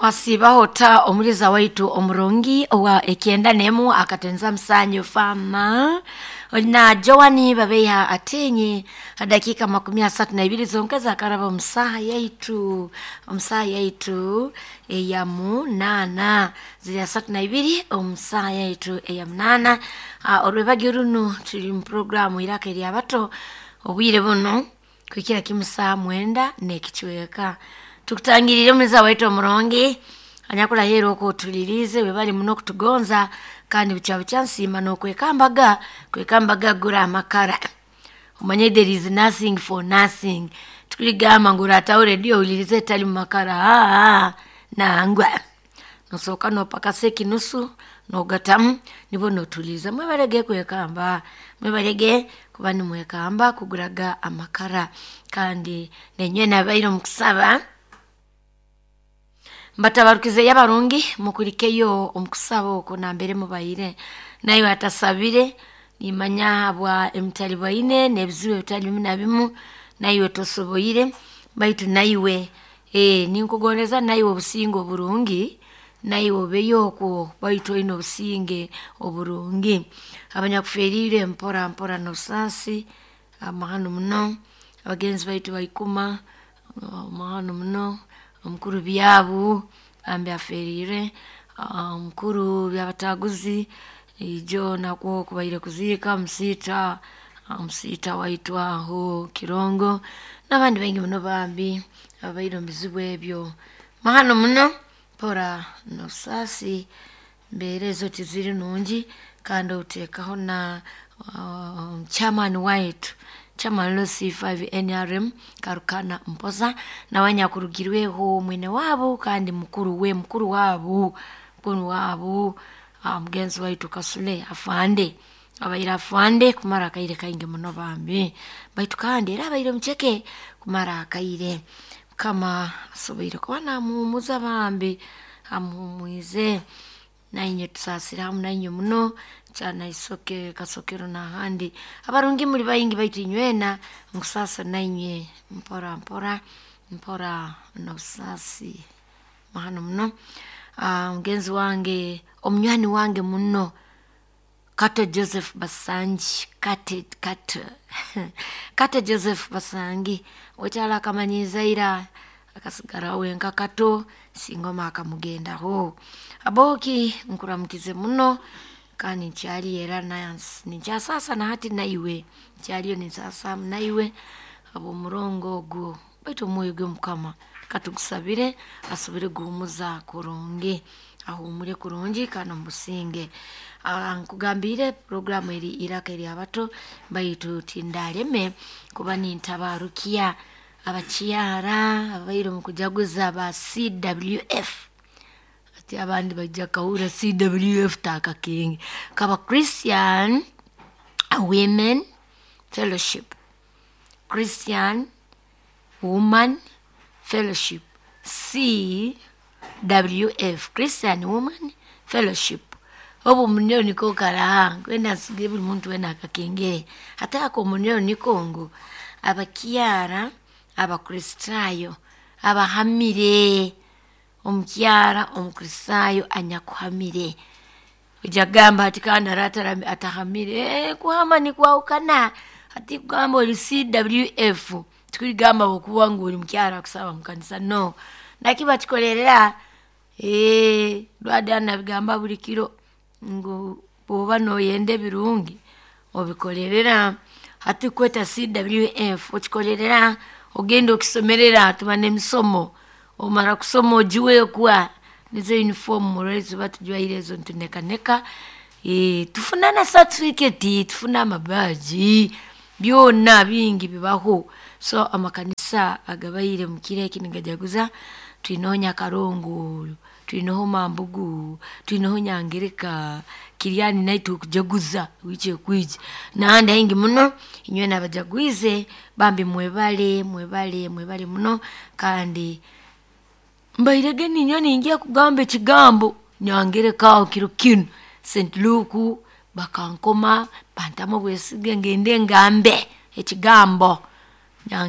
Wasiibaho ta omuliza waitu omurungi owa ekyenda nemu akatenza musanyu fama na Joani Babeiha atenye dakika 32 zonka zakaraba omusaha yaitu, omusaha yaitu eya munana ziri 32 omusaha yaitu eya munana. Orwebagyo runu tuli mu programu iraka eryabato obwire buno kuhikira kimu saa 9 n'ekicweka. Tukutangirire omuliza waitu omurungi anyakulahira okwo otulirize webali muno kutugonza kandi bukya bukya nsiima n'okwekambaga kwekambaga gura amakara. Omanye there is nothing for nothing. Tukuligamba ngu orataho rediyo owulirize etali mu makara, aa nangwa nosooka nopakasa ekinusu nogatamu nibwo notuliiriza. Mwebalege kwekamba, mwebalege kuba nimwekamba kuguraga amakara kandi nenywe nabaire omu kusaba mbatabarukizeyo abarungi mukulikeyo omu kusaba okwo nambere mubaire. Naiwe atasabire nimanya habwa emitalibwaine n'ebizibu ebitali bimu na bimu naiwe tosoboire, baitu naiwe ninkugondeza naiwe obusinge oburungi, naiwe obeyo okwo baitu oine obusinge oburungi. Abanyakuferiire mpora mpora n'obusaasi amahano muno, abagenzi baitu baikuma amahano muno, omukuru Byabu bambi aferiire, omukuru Byabataguzi ijo nakwo kubaire kuziika musiita, omusiita waitu aho Kirongo n'abandi baingi muno bambi ababaire omu bizibu ebyo. Mahano muno mpora n'obusaasi embeera ezo tiziri nungi kandi oteekaho na chairman waitu, chairman LC5 NRM Karukana Mpoza nawe anyakurugirweho mwene waabo kandi mukuru we mukuru waabo, mukuru waabo mugenzi waitu Kasule afande, abaire afande kumara akaire kaingi muno bambi, baitu kandi era abaire muceke kumara akaire. Mukama asoboire kuba namuhumuza bambi, amuhumwize nainywe tusaasire hamu nainywe muno kyana isoke kasokero n'ahandi. Abarungi muli baingi baitu inywena nkusaasa nainywe mpora mpora mpora n'obusaasi mahano muno. Mugenzi wange omunywani wange muno Kato Joseph Basangi, Kate Kato Kato Joseph Basangi okyala akamanyiiza ira akasigara wenka Kato singoma akamugendaho. Abooki nkuramukize muno kandi nkyaliyo era ninkyasaasa na hati naiwe nkyaliyo ninsaasa naiwe habw'omurongo ogwo, baitu omwoyo gwe Mukama katugusabire asobole guhumuza kurungi, ahuumure kurungi kandi omu businge. Nkugambiire puroguramu eri iraka eryabato baitu tindaleme kuba nintabarukya abakyara ababaire omu kujaguza ba CWF. Hati abandi baija kahurra CWF taakakingi, kaba Christian Women Fellowship, Christian Woman Fellowship, CWF, Christian Woman Fellowship. Obu omunywero niko karaha nkwenda nsige buli muntu weena akakengere, hati ako omunywero niko ngu abakyara abakristaayo abahamire, omukyara omukristaayo anyakuhamire. Oija kugamba hati kandi haroho atahamire, kuhama nikwahukana, hati kugamba oli CWF tikugamba habwokuba ngu oli mukyara akusaba mukanisa, no. Naki bakikolerera, Lwada nabigamba buli kiro ngu bw'oba noyenda ebirungi obikolerera. Hati kweta CWF okikolerera, ogenda okisomerera tuba n'emisomo, omara kusoma ogiweekwa, nizo uniform murora ezituba tujwaire ezo nitunekaneka, tufuna na certificate, tufuna amabaagi, byona bingi bibaho. So amakanisa agabaire omu kiro eki nigajaguza, twineho Nyakarongo, twineho Mambugu, twineho Nyangereka, Kiryani naitwe okujaguza wiiki ekwija n'ahandi haingi muno. Inywena abajagwize bambi mwebale, mwebale, mwebale muno kandi mbairege ninyowe ningya kugamba ekigambo Nyangereka aho kiro kinu St. Luke bakankoma bantamu obwesige ngende ngambe ekigambo.